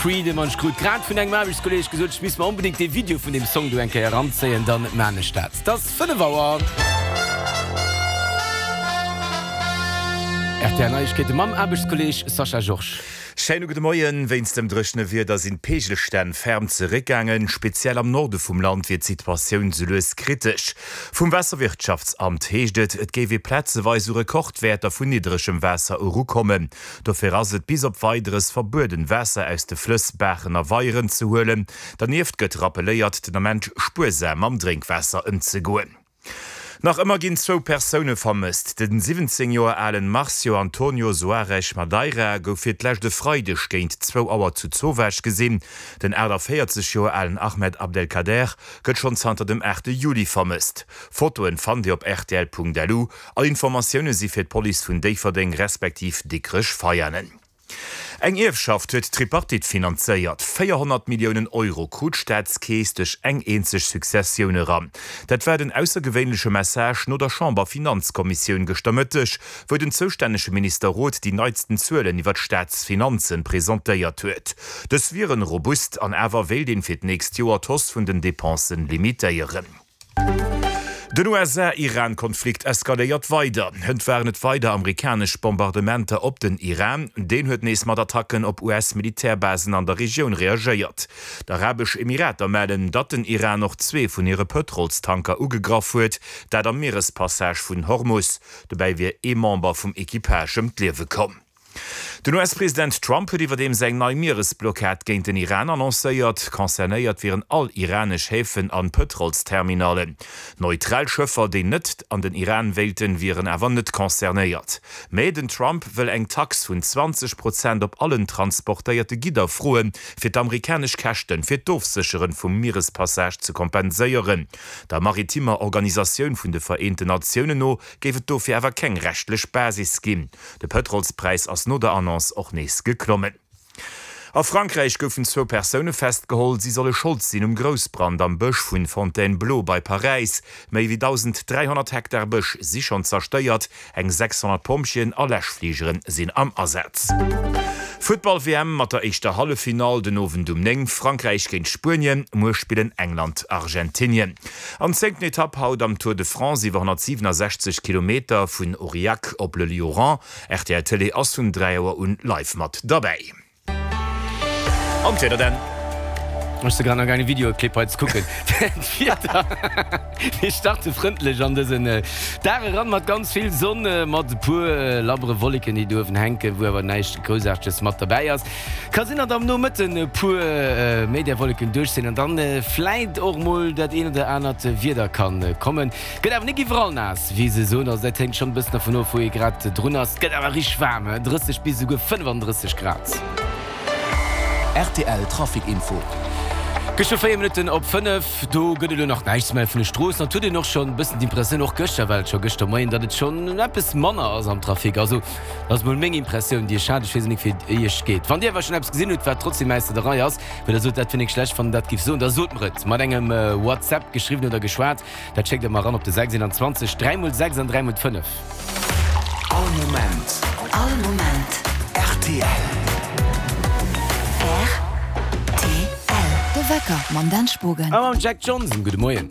Freedom an ech krut grad vun engem Aarbechtskolleeg gesot, ech misst mer onbedéngt dee Video vun deem Song do eng Kéier eranzéien, dann maan ech dat. 't ass 5 Auer. Rtl Neiegkeete mam Aarbechtskolleeg Sascha Georges. Schéine gudde Moien. Wéinst dem dréchene Wieder sinn d'Peegelstänn ferm zeréckgaangen. Speziell am Norde vum Land wier d'Situatioun sou lues kritesch. Vum Waasserwirtschaftsamt heescht et, et géif ee plazeweis u Rekordwäerter vun niddregem Waasser erukommen. Dofir ass et bis op Weideres verbueden, Waasser aus de Flëss, Baachen a Weieren ze huelen. Dernieft gëtt rappelléiert, den Ament spuersam mam Drénkwaasser ëmzegoen. Nach ëmmer ginn zwou Persoune vermësst. Den 17 Joer alen Marcio Antonio Soares Madeira gouf fir d'lescht e Freideg géint zwou Auer zu Zowaasch gesinn. Den 48 Joer alen Ahmed Abdelkader gëtt schonn zanter dem 8 Juli vermësst. Fotoen fannt Dir op rtl.lu. All Informatioune si fir d'Police vun Déifferdeng respektiv Dikrech-Veianen. Eng Ierfschaft huet d'Tripartite finanzéiert. 400 Milliounen Euro krut d'Staatskeess duerch eng eenzeg Successioun eran. Dat war den aussergewéinleche Message no der Chamber-Finanzkommissioun gëschter Mëtteg, wou den zoustännege Minister Roth déi neitsten Zuelen iwwer d'Staatsfinanzen presentéiert huet. Dës wieren robust an awer wéilt een fir d'nächst Joer d'Hausse vun den Depensen limitéieren. Den USA-Iran-Konflikt eskaléiert weider. Hënt waren et weider amerikanesch Bombardementer op den Iran. Deen huet nees mat Attacken op US-Militärbasen an der Regioun reagéiert. D'Arabesch Emirater mellen, datt den Iran och zwee vun hire Pëtrolstanker ugegraff huet, dat am Mierespassage vun Hormus. Dobäi wier ee Member vum Equipage ëm d'Liewe komm. Den US-President Trump huet iwwerdeems eng nei Mieresblockad géint den Iran annoncéiert. Concernéiert wieren all iranesch Häfen an Pëtrolsterminallen. Neutral Schëffer, déi net an den Iran wéilten, wieren awer net concernéiert. Mä den Trump wëll eng Tax vun 20 Prozent op allen transportéierte Gidder froen, fir d'amerikanesch Käschten fir d'Ofsécheren vum Mierespassage ze kompenséieren. Der maritimer Organisatioun vun de Vereenten Natiounen no géif et dofir awer keng rechtlech Basis ginn. De Pëtrolspräis ass no der Annonce och nees geklommen. A Frankräich goufen zwou Persoune festgeholl. Si solle Schold sinn um Groussbrand am Bësch vun Fontainebleau bei Paräis. Méi wéi 1.300 Hektar Bësch si schonn zerstéiert. Eng 600 Pompjeeën a Läschfligere sinn am Asaz. Futtball-WM mat der éischter Halleffinall den Owend um 9, Frankräich géint Spuenien. Muer spillen England Argentinien. An zéngten Etapp haut am Tour de France iwwer 167 Kilometer vun Aurillac op Le Lioran. Rtl Télé ass vun 3 Auer un live mat derbäi. An d'Wieder dann. Ech si grad nach gaangen e Videoclip hei ze kucken. D'Wieder, mir starte frëndlech an dësen Dag eran mat ganz vill Sonn, mat e puer labbere Wolleken déi do uewen hänken, wou awer näischt Groussaarteges mat derbäi ass. Ka sinn, datt am Nomëtten e puer méi där Wolleken duerch sinn an dann vläit och mol dat een oder anert Wieder kann kommen. Gëtt awer nik iwwerall naass, wéi se soen, also dat hänkt schonn e bëssen dervun of, wou ee grad drun ass. Et gëtt awer richteg waarm, 30 bis esouguer 35 Grad. Rtl Trafic Info. Gëschter 4 Minutten op 5, do gëtt et elo nach näischt ze melle vun de Stroossen. Et huet een och schonn e bëssen d'Impressioun, och gëschter war et scho gëschter Moien, datt et schonn eppes manner ass am Trafic. Also Dat ass mol meng Impressioun déi ech hat. Ech weess nik wéi et iech geet. Wann dir awer schonn eppes gesinn hutt wat trotzdem äis der Rei ass, wou der sot dat fir nik schlecht wann der dat giff soen, da sot mer et mat engem WhatsApp, geschriwwen oder geschwat. Dat schéckt der mer eran op de 6 21 3 mol 6 an 3 mol 5. All Moment. All Moment. Rtl. Rtl. De Wecker mam Dan Spogen. A mam Jack Johnson. Gudde Moien.